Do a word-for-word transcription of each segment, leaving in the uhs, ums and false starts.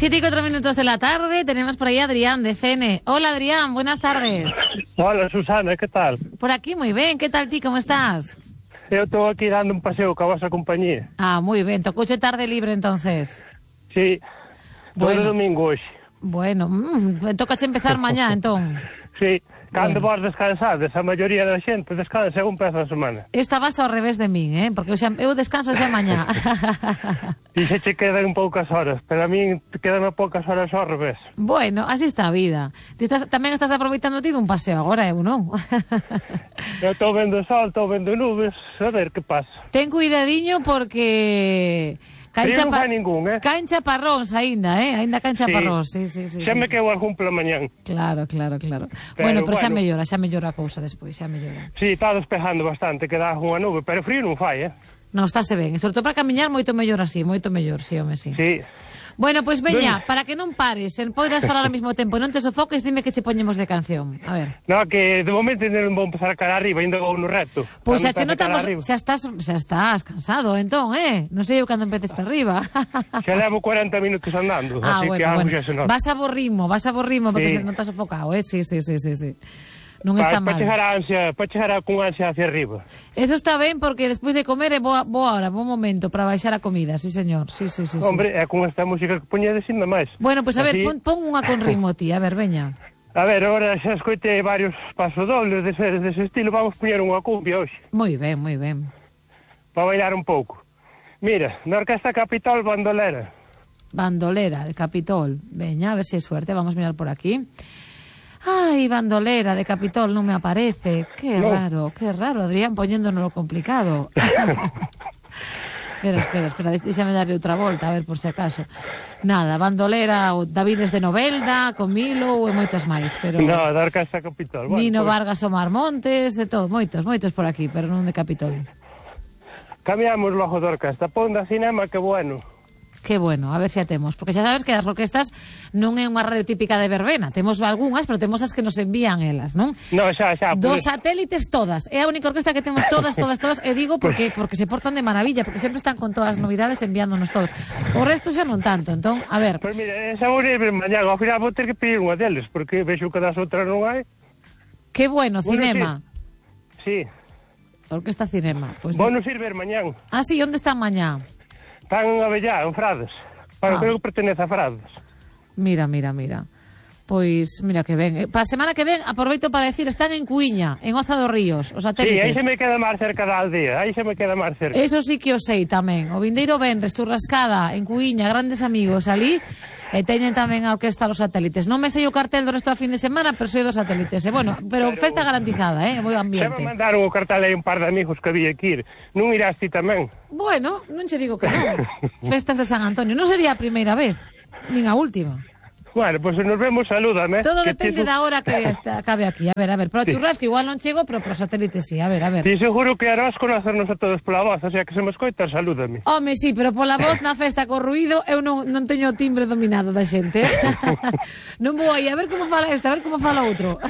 Siete y cuatro minutos de la tarde, tenemos por ahí a Adrián de F N. Hola Adrián, buenas tardes. Hola Susana, ¿qué tal? Por aquí muy bien, ¿qué tal ti, cómo estás? Eu estou aquí dando un paseo ca vosa compañía. Ah, muy bien, tocouche tarde libre entonces. Sí, todo Bueno. domingo hoxe. Bueno, mmm, tocache empezar mañá entón. Sí, cando Bueno. vos descansades, a maioría da xente descansa un pedazo a semana. Esta vas ao revés de min, eh? Porque eu, xa, eu descanso xa mañá. E se che quedan poucas horas, pero a min quedan poucas horas ao revés. Bueno, así está a vida. Ti estás, tamén estás aproveitando ti dun paseo agora, eu non? Eu estou vendo sol, estou vendo nubes, a ver que pasa. Ten cuidadiño porque... Caen Frío non chapa... fai ningún, eh? Caen chaparróns aínda, eh? Aínda caen chaparróns, sí, sí, sí. Xa sí, me sí. quedo algún pola mañán. Claro, claro, claro. Pero, bueno, pero xa bueno. mellora, xa mellora a cousa despois, xa mellora. Sí, está despejando bastante, queda unha nube, pero frío non fai, eh? Non, estáse ben, e sobre todo para camiñar moito mellor así, moito mellor, sí, home, sí. Sí. Bueno, pois pues veña, Ben. para que non pares, en poidas falar ao mesmo tempo, non te sofoques, dime que che poñemos de canción. A ver. No, que de momento non vou empezar a cara arriba, ainda vou no reto. Pois xa Cando che empece cara notamos, arriba. xa estás, xa estás cansado, entón, eh? Non sei eu cando empeces para arriba. Xa levo cuarenta minutos andando, Ah, así bueno, que algo bueno. xa se nota. Vas a bo ritmo, vas a bo ritmo porque Sí. se non estás sofocado, eh? Sí, sí, sí, sí, sí. Non Pa- está pa mal. chegar a ansia, para chegar a, con ansia hacia arriba. Eso está ben porque despois de comer é boa, boa hora, bom momento para baixar a comida, sí señor, sí, sí, sí, sí. Hombre, é con esta música que poñedes ainda máis. Bueno, pois pues a ver, Así- pon, pon unha con ritmo, ti, a ver, veña. A ver, agora xa escoitei varios pasodobles dese, dese estilo, vamos poñer unha cumbia hoxe, Moi ben, moi ben. para bailar un pouco. Mira, na Orquesta Capitol Bandolera. Bandolera de Capitol. Veña, a ver se si é suerte, vamos a mirar por aquí. Ai, bandolera de Capitol non me aparece. Que No. raro, que raro, Adrián, poniéndonos lo complicado. espera, espera, espera, déxame darle outra volta, a ver por se acaso. Nada, bandolera, o Davides de Novelda, Comilo e moitos máis, pero... No, da Orquesta Capitol. Bueno, Nino pues, Vargas Omar Montes, de todo, moitos, moitos por aquí, pero non de Capitol. cambiamos logo da orquesta, pon da cinema, que bueno. Que bueno, a ver se a temos, porque xa sabes que as orquestas non é unha radio típica de verbena, temos algunhas, pero temos as que nos envían elas, non? No, xa, xa. Dos pues, satélites todas, é a única orquesta que temos todas, todas, todas, e digo porque porque se portan de maravilla, porque sempre están con todas as novidades enviándonos todos. O resto xa non tanto, entón, a ver, Pois mira, esa vou ir mañá, ao final vou ter que pedir unha deles, porque vexo que das outras non hai. que bueno, Bueno, cinema, Sí, orquesta cinema. Pues, vou nos ir ver mañán. ah, sí, onde están mañá? Están en Avellá, en Frades. Ah. Bueno, creo que pertenece a Frades. Mira, mira, mira. Pois, mira que ben. Eh, Para a semana que ven, aproveito para decir, están en Cuiña, en Oza dos Ríos, os Sí, satélites. aí se me queda máis cerca da aldea, aí se me queda máis cerca. Eso sí que o sei tamén. O vindeiro venres, Turrascada, en Cuiña, grandes amigos ali, e teñen tamén a orquesta dos satélites. Non me sei o cartel do resto da fin de semana, pero sei dos satélites. E bueno, pero festa garantizada, eh? Moi Se ambiente. me mandaron o cartel aí un par de amigos que había que ir. Non irás ti tamén? Bueno, non che digo que non. Festas de San Antonio. Non sería a primeira vez, nin a última. Bueno, pois pues nos vemos, salúdame. Todo que depende ti- da hora que está, cabe aquí. A ver, a ver, pro Sí. churrasco igual non chego, pero pro satélite sí. A ver, a ver. Ti seguro que harás conocernos a todos pola voz, o sea que se me escoita, salúdame. Home, sí, pero pola voz na festa co ruido eu non, non teño o timbre dominado da xente. Non vou aí a ver como fala esta, a ver como fala outro.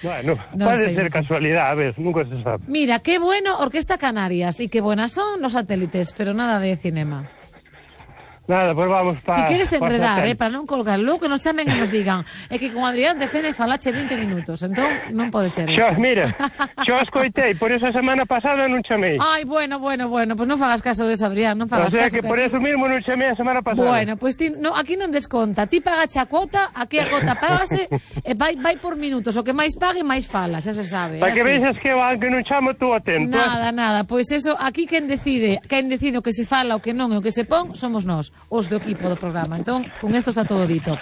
Bueno, Non pode sei, ser non sei. casualidade, a ver, nunca se sabe. Mira, qué bueno Orquesta Canarias y qué buenas son los satélites, pero nada de cinema. Nada, pois pues vamos Si para... quieres enredar, eh, para non colgar, logo que nos chamen e nos digan é que con Adrián de Fene falache vinte minutos, entón non pode ser Xo, isto. mira, xo escoitei, por esa semana pasada non chamei. Ai, bueno, bueno, bueno, pues non fagas caso de eso, Adrián, non O fagas sea caso. que por aquí- eso mismo non chamei a semana pasada. Bueno, pues ti, no, aquí non desconta. Ti pagache a cuota, aquí a cuota págase e vai, vai por minutos. O que máis pague, máis fala, xa se sabe. Para é que así. vexas que van que non chamo tú atento. Nada, nada, pois eso, aquí quen decide, quen decide o que se fala, o que non e o que se pon, somos nós, os do equipo do programa. Entón, con esto está todo dito.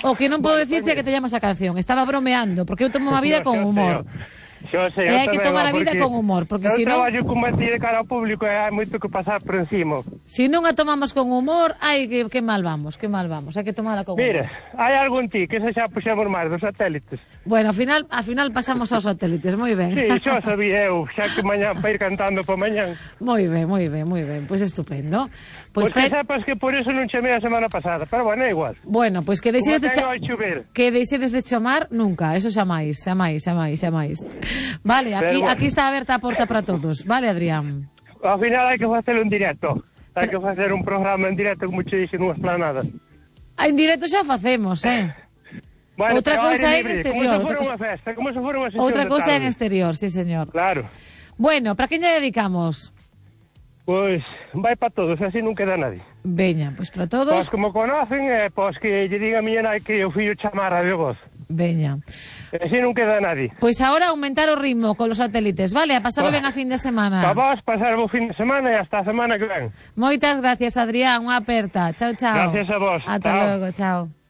O que non podo Bueno, dicirche é pues que te llamas a canción. Estaba bromeando, porque eu tomo a vida No, con xa humor. sei, Xo sei, E eu hai que tamén, tomar a va, vida porque con humor, porque eu si non- traballo como a ti de cara ao público e hai moito que pasar por encima. Si non a tomamos con humor, ai, que, que mal vamos, que mal vamos. Hai que tomala con Mira, humor. hai algo en ti que se xa puxemos máis dos satélites. Bueno, ao final, ao final pasamos aos satélites, moi ben. Sí, xo sabía eu, xa que mañán para ir cantando para mañán. Moi ben, moi ben, moi ben. Pois estupendo. Pois Pois que pre... sepas que por eso non chamei a semana pasada, pero bueno, é igual. Bueno, pois que Como deixedes de ten cha... ao chover. que deixedes de chamar nunca, eso xa máis, xa máis, xa máis, xa máis. Vale, aquí Pero bueno. aquí está aberta a porta para todos. Vale, Adrián. Ao final hai que facelo en directo. Hai que facer un programa en directo como che dixen nunha esplanada. En directo xa facemos, eh? Bueno, outra pero cousa aire é en libre, exterior. Como se Outra fora cousa, unha festa, como se fora unha sesión outra de cousa é en tarde. exterior, sí, señor. Claro. Bueno, para quen lle dedicamos? Pois vai para todos, así non queda nadie. Veña, pois para Pois todos. como conocen, eh, pois que lle diga a miña nai que o fillo chamara de voz. Veña. Así non queda nadie. Pois agora aumentar o ritmo con los satélites, vale? A pasarlo Pois, ben a fin de semana. Para vos, pasar o fin de semana e hasta a semana que ven. Moitas gracias, Adrián, unha aperta. Chao, chao. Gracias a vos. Ata Chao. logo, chao.